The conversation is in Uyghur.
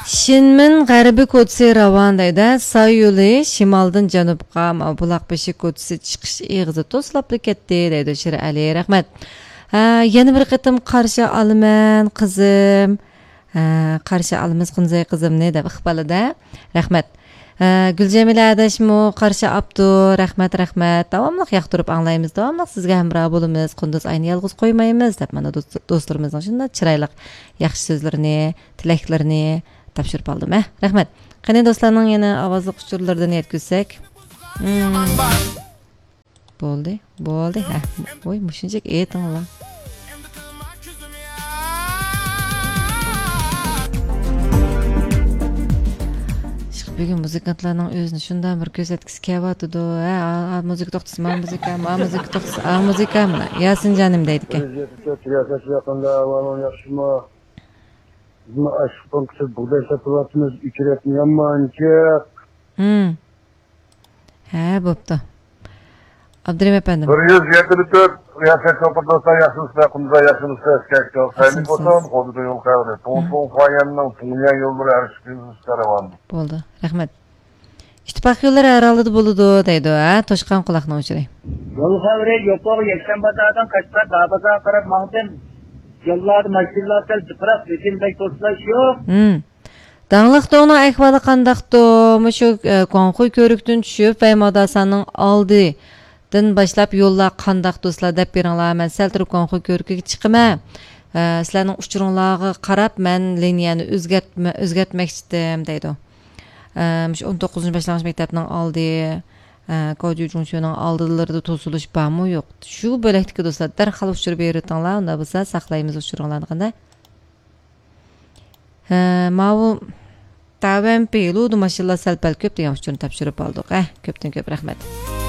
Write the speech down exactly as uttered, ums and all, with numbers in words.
شىنمىن غەربىي كوچىسى راۋان دەيدۇ. ساي يولى شىمالدىن جەنۇبقا، ما بۇلاق بېشى كوچىسى چىقىش ئېغىزى توسۇلۇپلا كەتتى دەيدۇ شىرئەلى. رەھمەت. ھە، يەنە بىر قېتىم قارشى ئالىمەن قىزىم. ھە، قارشى ئالىمىز قۇنزەي قىزىمنى دەپ ئىقبالىدا. رەھمەت. ھە، گۈلجەمىلە ئاداشمۇ قارشى ئاپتۇ. رەھمەت، رەھمەت. داۋاملىق ياقتۇرۇپ ئاڭلايمىز، داۋاملىق سىزگە ھەمراھ بولىمىز. قۇندۇز ئاينى يالغۇز قويمايمىز دەپ مانا دوست-، دوستلىرىمىزنىڭ شۇنداق چىرايلىق ياخشى سۆزلىرىنى، تىلەكلىرىنى تاپشۇرۇپ ئالدىم. ھە، رەھمەت. قېنى دوستلارنىڭ يەنە ئاۋازلىق ئۇچۇرلىرىدىن يەتكۈزسەك. مم. بولدى، بولدى. ھە، ۋوي، مۇشۇنچىلىك ئېيتىڭلار. ئىشق، بۈگۈن مۇزىكانتلارنىڭ ئۆزىنى شۇنداق بىر كۆرسەتكۈسى كېلىۋاتىدۇ. ھە، ئا، ئا، مۇزىكا توختىسا، ما مۇزىكا، ما مۇزىكا توختىسا، ئا مۇزىكا، مانا ياسىنجانىم دەيدىكەن. رىياسەتچى، ئەخەت، ئاۋالىڭ ياخشىمۇ؟ بىزمۇ ئاشۇ پونكىتتا بۇغداي سېتىۋاتىمىز، ئۆچۈرۈۋەتمە يامان جىق. ھە، بوپتۇ. ئابدۇرېھىم ئەپەندىم. بىر يۈز يەتتە تۆت، ياخشى، شوپۇر دوستلار، ياخشىمۇسىلەر؟ قۇمزا، ياخشىمۇسىلەر؟ ئىسكەك جوق، سەينى بوسۇن، خودىدۇ يول قەۋرى. توڭسۇڭ فايەننىڭ تۇڭيا يوللىرى ھەر ئىككى يۈز كەرۋان. بولدى، رەھمەت. ئىتتىپاق يوللىرى ھەر ھالدا بولىدۇ دەيدۇ، ھە، توشقان قۇلاقنىڭ ئۇچۇرى. يول خەۋىرى يوقلۇغى يەكشەنبە بازاردىن قەشقەر داۋا بازارغا قاراپ ماڭدىم. يوللاردا ماشىنىلار سەل جىقراق، لېكىن بەك توسۇلۇش يوق. ھىم. داڭلىق دوڭنىڭ ئەھۋالى قانداقتۇ؟ مۇشۇ، ئە، گۇاڭخۇي كۆۋرۈكتىن چۈشۈپ، ۋەي ماداساننىڭ ئالدىدىن باشلاپ يوللار قانداق دوستلار دەپ بېرىڭلار. مەن سەل تۇرۇپ گۇاڭخۇي كۆۋرۈكىگە چىقىمەن. ئە، سىلەرنىڭ ئۇچۇرۇڭلارغا قاراپ مەن لىنىيەنى ئۆزگەرتمە-، ئۆزگەرتمەكچىدىم دەيدۇ. ئە، مۇشۇ ئون توققۇزىنچى باشلانغۇچ مەكتەپنىڭ ئالدى، ئە، كاۋجۈ جۇڭشۈنىڭ ئالدىلىرىدا توسۇلۇش بارمۇ يوق؟ شۇ بۆلەكتىكى دوستلار دەرھال ئۇچۇر بېرىۋېتىڭلار، ئۇنداق بولسا ساقلايمىز ئۇچۇرۇڭلارنى قانداق؟ ھە، ماۋۇ تاۋەن پېلۇدا ماشىنىلار سەل پەل كۆپ دېگەن ئۇچۇرنى تاپشۇرۇپ ئالدۇق. ھە، كۆپتىن كۆپ رەھمەت.